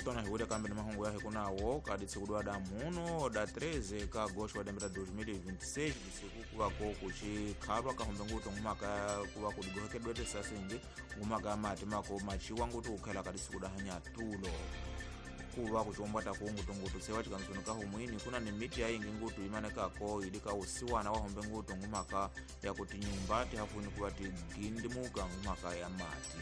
Tona hiwile kambe ni mahungu ya hikunawo ka ditsikudwa da muno da 13 ka agosto wa lembe ra 2026 disiku kuvako kuchikhalwa kahombe ngutu ngumaka kuva kudigohekedwete sasingi ngumaka mati mako machiwa ngutu kukhela ka disiku da hanyatulo kuva kuchombwata kungutungutu sewa chikansoni ka humwini kuna ni miti yaingi ngutu imanekako ili ka usiwana wahombe ngutu ngumaka yakuti nyumba tihafuni kuva tigindimuka ngumaka ya mati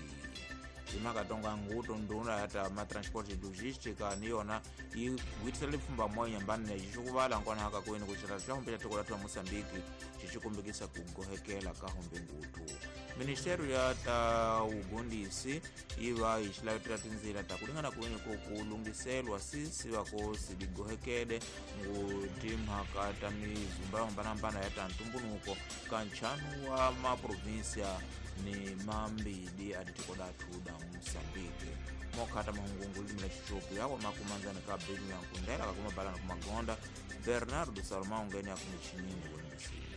imakatonga ngutu nduna yata matransport logistica niyona igwitisela lipfumba moyo nyambani necixikuvala nkona haka kwini kucira xa hombe xa tiko la Moçambique xixikumbikisa kugohekela ka hombe ngutu. Ministério ya ta ugundisi yi va yi xilavetela tindzila ta kulingana kwini ku kulungiselwa sisi va ko sidigohekele ngu timhaka ta mizumba yo hambanahambana ya ta ntumbunuko ka ntlhanu wa maprovinsia ni mambili a tiko lathu da Moçambique. Mokhata mahungungu limi la xichopu yawa makumanzani ka benu ya nkundela kakumabalana kumagonda Bernardo Salomão ngene yakumichinini wembisinene.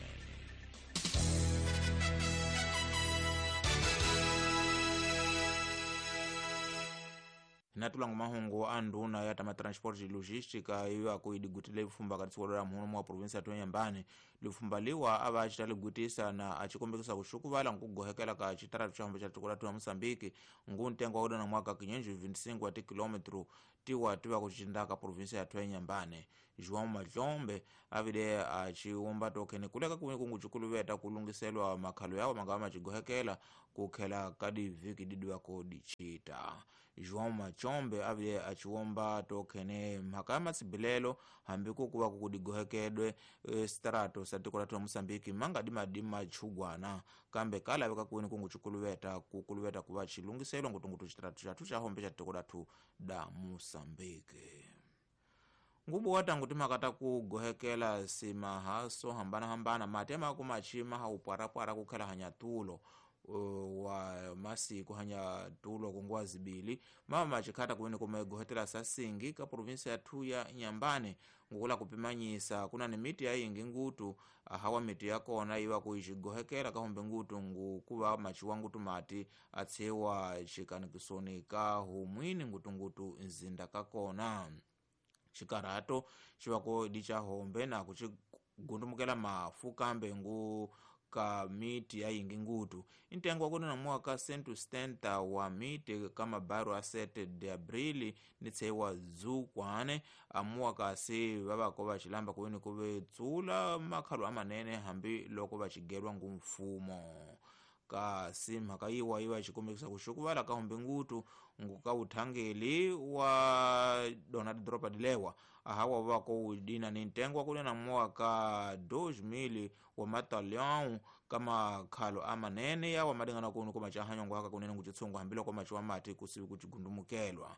Natulangu mahungu a nduna ya tama transport logistica iyo akuidigutile lifumba ka tsikolo la muhumu wa provinsia ya Inhambane. Lifumba liwa ava acita ligutisa na acikombekisa kuxukuvala nkugohekela ka citaratu xa hombe xa tiko la Moçambique ngu ntengo wa kudana mwaka 525 wa tikilometro tiwa tiva kucindaka provinsia ya Inhambane. João Majombe avile aciwumba tokhene kuleka kuwini kungucikuluveta kulungiselwa makhalo yawo mangava macigohekela kukhela kadi viki didiwako dicita. João Machombe avile aciwomba tokhene mhaka ya matsibilelo hambi kukuva kukudigohekedwe strato sa tiko la Moçambique mangadi madi machugwana kambe kalaveka kuwini kungucikuluveta kukuluveta kuva cilungiselwa ngutungutu citratu xathu xa hombe xa tiko lathu da Moçambique. Ngubu watangu timhaka ta kugohekela simahaso hambanahambana mati amako machima haupwarapwara kukhela hanyatulo wa masiku hanyatulo kunguwa zibili mama machikhata kuwini kumegohetela sasingi ka provinsia yathu ya Inhambane ngukula kupimanyisa kuna ni miti yayingi ngutu hawa miti yakona iwa kuixigohekela kahombe ngutu ngukuva machiwa ngutu mati atshiwa xikanikisoni ka humwini ngutungutu nzinda kakona. Xikarato xivako di xa hombe na kuxigundumukela mafu kambe ngu ka miti yayingi ngutu intengo wa kunena mwaka 170 wa miti ka mabairo a 7 de abril ni tseiwa dzukwane amuwa kasi vavako va xilamba kuwini kuve tsula makhalo amanene hambi loko va xigelwa ngu mfumo. Kasi mhaka yiwa yiva xikombekisa kuxukuvala ka hombe ngutu nguka uthangeli wa dona tidoropa dilewa ahawa vako udina ni ntengo wa kunena mwaka 2000 wa matalhão ka makhalo amanene yawa madingana kunu kumacahanyongo haka kunene ngucitshungu hambiloko maciwa mati kusivi kucigundumukelwa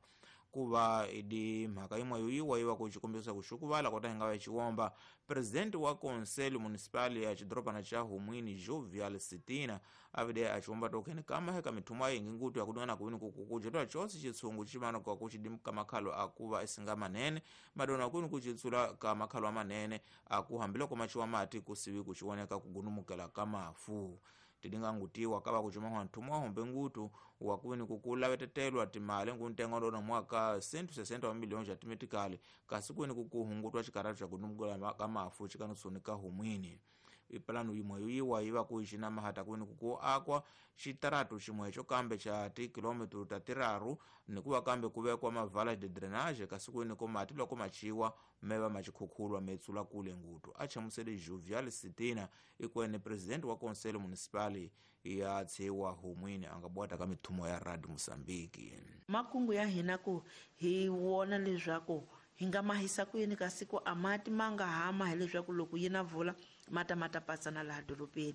kuva idi mhaka imwe yoyiwa yiva kuxikombisa kuxukuvala kota hinga va xiwomba. Presidente wa conselho municipal ya xidorobana xa Humwini Jovial Sitina avide axiwomba tokhene kama heka mithumo yayingi ngutu yakudingana kuwini kukujetwa cosi xitshungu ximana ka kuxidimuka makhalo akuva esinga manene madona kwini kucitsula ka makhalo amanene aku hambiloko maciwa mati kusivi kuxiwoneka kugundumukela ka mafu. Tidingangutiwa kava kucimahwa nthumo wa hombe ngutu wa kuwini kukulavetetelwa timali nguntengo ndona mwaka 160 wa milhões ja timetikali kasi kuwini kukuhungutwa xikaratu xa kudumukela ka mafu xikanisoni ka humwini. Ipalanu yimwe yoyiwa yiva kuixina mahata kuwini kuku akwa xitaratu ximwe xo kambe xa tikilometro ta tiraru nikuva kambe kuvekwa mavala de drainage kasi kuwini ko mati loko machiwa meva macikhukhulwa metsula kule ngutu. Achamusele Jovial Sitina ikwene presidente wa conselho municipal ya tshiwa Humwini angabwata ka mithumo ya Radio Moçambique. Makungu ya hina ku hi wona leswaku hi nga mahisa ku yini kasi ku a mati ma nga hama hileswaku loko yi na vula mata mata pasana laha dorobeni.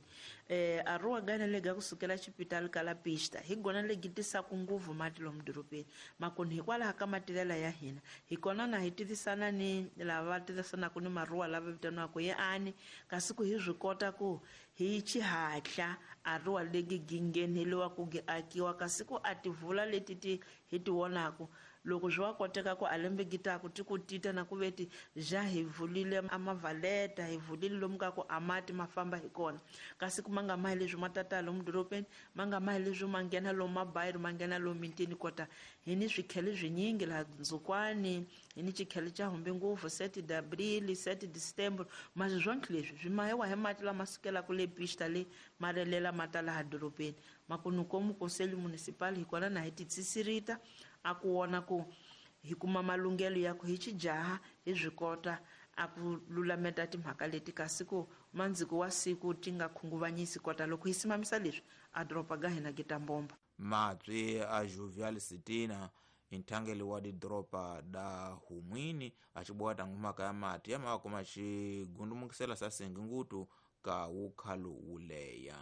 A rua gana lega kusukela xipitali ka la pista hi gona legi tisaku nguvu mati lomu dorobeni makoni hikwalaho ka matilela ya hina hi kona na hi tivisana ni lava va tivisanaka ni maruwa lava vitaniwaka ye ani kasi ku hi swi kota ku hi xihatla a ruwa legi gingheneliwa ku gi akiwa kasi ku a tivula leti ti hi ti vonaku loko swi wa koteka ku a lembe gitaku ti ku tita na ku veti ja hi vulile a mavaleta hi vulile lomu ka ku a mati ma famba hi kona kasi ku ma nga mahi leswi ma tata lomu dorobeni ma nga mahi leswi ma nghena lomu mabayiro ma nghena lomu mitini kota hi ni swikhele swinyingi laha Nzukwani hi ni xikhele xa humbe ngopfu 7 de abril 7 de setembro masi swonke leswi swi mahiwa hi mati lama sukelaka le pista le ma relela ma ta laha dorobeni makunukomu conselho municipal hi kona na hi titsisirita a ku wona ku hi kuma malunghelo ya ku hi xijaha hi swi kota a ku lulameta timhaka leti kasi ku mandziko wa siku ti nga khunguvanyisi kota loko hi simamisa leswi a doroba ga hina gitambomba. Matswi a Jovial Sitina inthangeli wa didoropa da Humwini acibowa tangumaka ya mati ya mavako macigundumukisela sasengi ngutu ka wukhalu wuleya.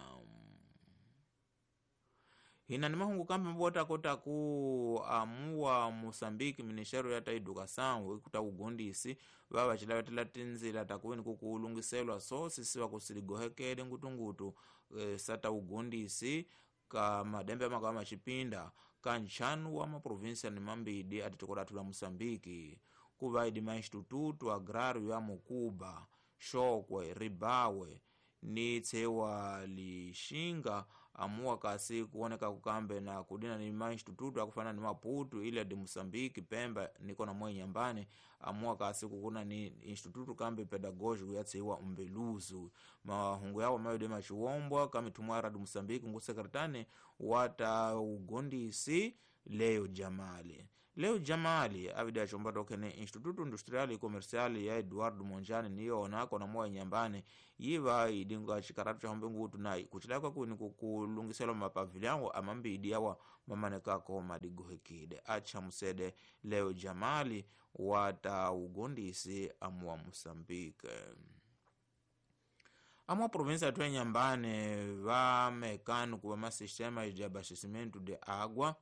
Hina ni mahungu kambe mabota kota ku amuwa Moçambique Ministério ya ta Educação ikuta ugondisi vava cilavetela tinzila takuweni kukulungiselwa so sisiwa kusiligohekele ngutungutu sata ugondisi ka madembe amaka machipinda ka nchanu wa maprovinsia ni mambidi atitokodatu la Moçambique kuva idi ma Instituto Agrário ya Mukuba, Xokwe, Ribawe ni tsewa Lixinga amuwa kasi kuoneka kukambe na kudina ni ma instituto akufana ni Maputo Ilha de Moçambique Pemba niko na mwe Nyambane amuwa kasi kukuna ni instituto kambe pedagógico ya tsewa Umbeluzu mahungu yawo mayo machiwombwa kamitumwa radu Moçambique ngu sekretane wata ugondisi Leo Jamali. Leo Jamali avida achomba tokene Instituto Industrial e Comercial ya Eduardo Monjane niyona kona moya Nyambane yiva idinga chikaratu cha hombe ngutu na kuchilaka kuni kukulungiselwa mapavilhango amambidi yawa mamanekako madigohekide acha musede Leo Jamali wata ugondisi amuwa Moçambique. Amwa província ya Nyambane va mecânico va masistema de abastecimento de água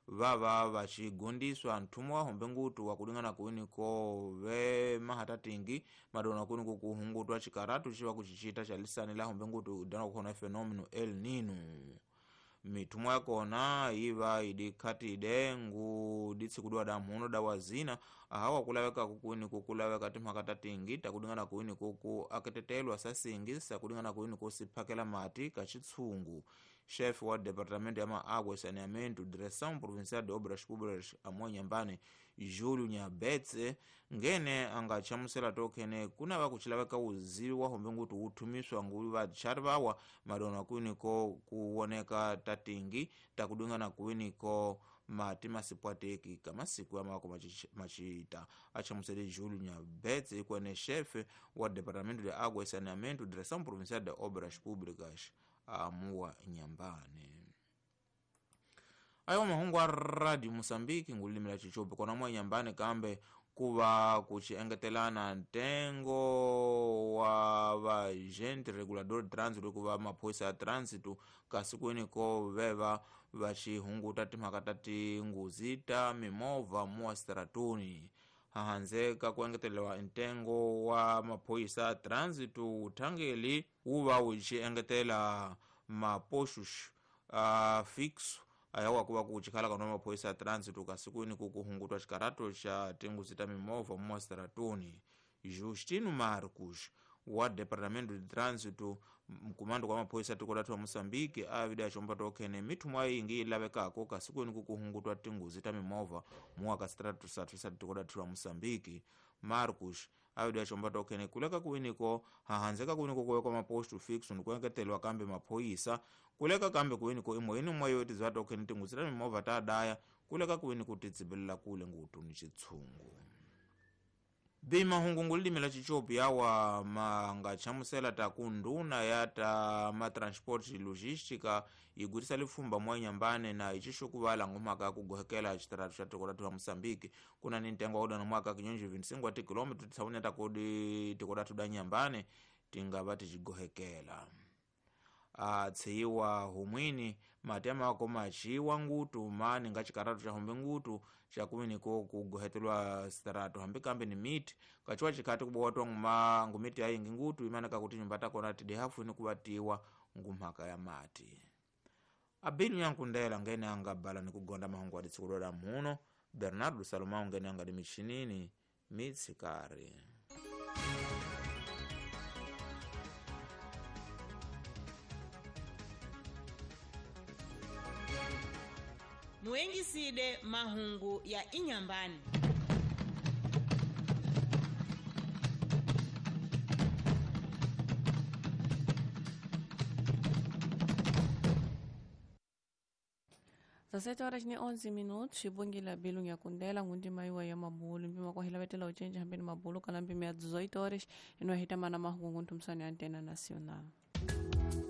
vava vachigundiswa nthumu wa hombe ngutu wakulingana kuwiniko ve mahatatingi madona kuwiniko kuhungutwa chikaratu chiva kuchichita cha lisani la hombe ngutu dana kukhona fenômeno El Nino. Mithumu yakona iva idikhatide ngu ditsikudwa da mhuno da wazina ahawa kulaveka kukuwiniko kulaveka timhaka tatingi takulingana kuwiniko ku aketetelwa sasingi sakulingana kuwiniko siphakela mati kachitsungu. Chefe wa Departamento ya Maágua e Saneamento, Direção Provincial de Obras Públicas amuwa Nyambane, Júlio Nyabetse, ngene angachamusela tokene kuna vakuchilaveka uzivi wa hombe ngutu uthumiswa nguli vatchari vawa madona kuwiniko kuwoneka tatingi takudungana kuwiniko mati masipwateki kamasiku ya mako machita. Achamusele Júlio Nyabetse ikwene chefe wa Departamento de Água e Saneamento, Direção Provincial de Obras Públicas amuwa Nyambane. Ayo mahungu a Radio Moçambique ngulimila chichope kona mwa Nyambane kambe kuva kuchiengetelana ntengo wa vagente regulador de trânsito kuva maphoyisa ya trânsito kasi kuweniko veva vachihunguta timhaka ta tinguzi ta mimovha muwa stratuni. Hahanzeka kuengetelewa ntengo wa maphoyisa ya trânsito uthangeli wuva wuchiengetela mapoxos fixo ayawa kuva kuchikhala kana maphoyisa ya trânsito kasi kuwini kukuhungutwa xikarato xa tinguzi ta mimovha muwastratuni. Justino Marcos wa Departamento de Trânsito mkumando kwa maphoyisa tiko lathu wa Moçambique avida achomba tokhene mithumu ayingi ilavekako kasi kuwini kukuhungutwa tinguzi ta mimovha muwaka sitratu sathu sa tiko lathu wa Moçambique. Marcos avida achomba tokhene kuleka kuwiniko hahanzeka kuwiniko kuwekwa maposto fixo nikuengeteliwa kambe maphoyisa kuleka kambe kuwiniko imwe ini mwe yoti za tokhene tinguzi ta mimovha ta daya kuleka kuwiniko titsibelela kule ngutu ni chitsungu. Bimahungu ngulilimi la chichopi yawa mangachamusela taku nduna ya ta matransport logística igutisa lifumba mwa Nyambane na icixukuvala ngumhaka kugohekela xitaratu xa tiko lathu la Moçambique kuna ni ntengo wa udana mwaka kinyonji 25 wa tikilômetro tisaune takudi tiko lathu da Nyambane tingava ticigohekela. Atsiyiwa humwini matema wako machiwa ngutu mani nga chikaratu cha hombe ngutu chakuwiniko kugohetelwa sitaratu hambi kambe ni miti kachiwa chikhati kubowatwa nguma ngumiti ayingi ngutu imaneka kuti nyumba takona tidi hafu ini kuvatiwa ngumhaka ya mati. Abinu yankundela ngene angabala ni kugonda mahungu aditsikudwada muno Bernardo Salomão ngene angadi michinini mitsikari. Muengiside mahungu ya Inhambane. Às 7h11, xibungile bilu ngiyakundela ngundima iwa ya mabulu mpima kwahila vetela ucenja hambeni mabulu kana mpima ya 18 horas inohita mana mahungu ntumsani ya Antena Nacional.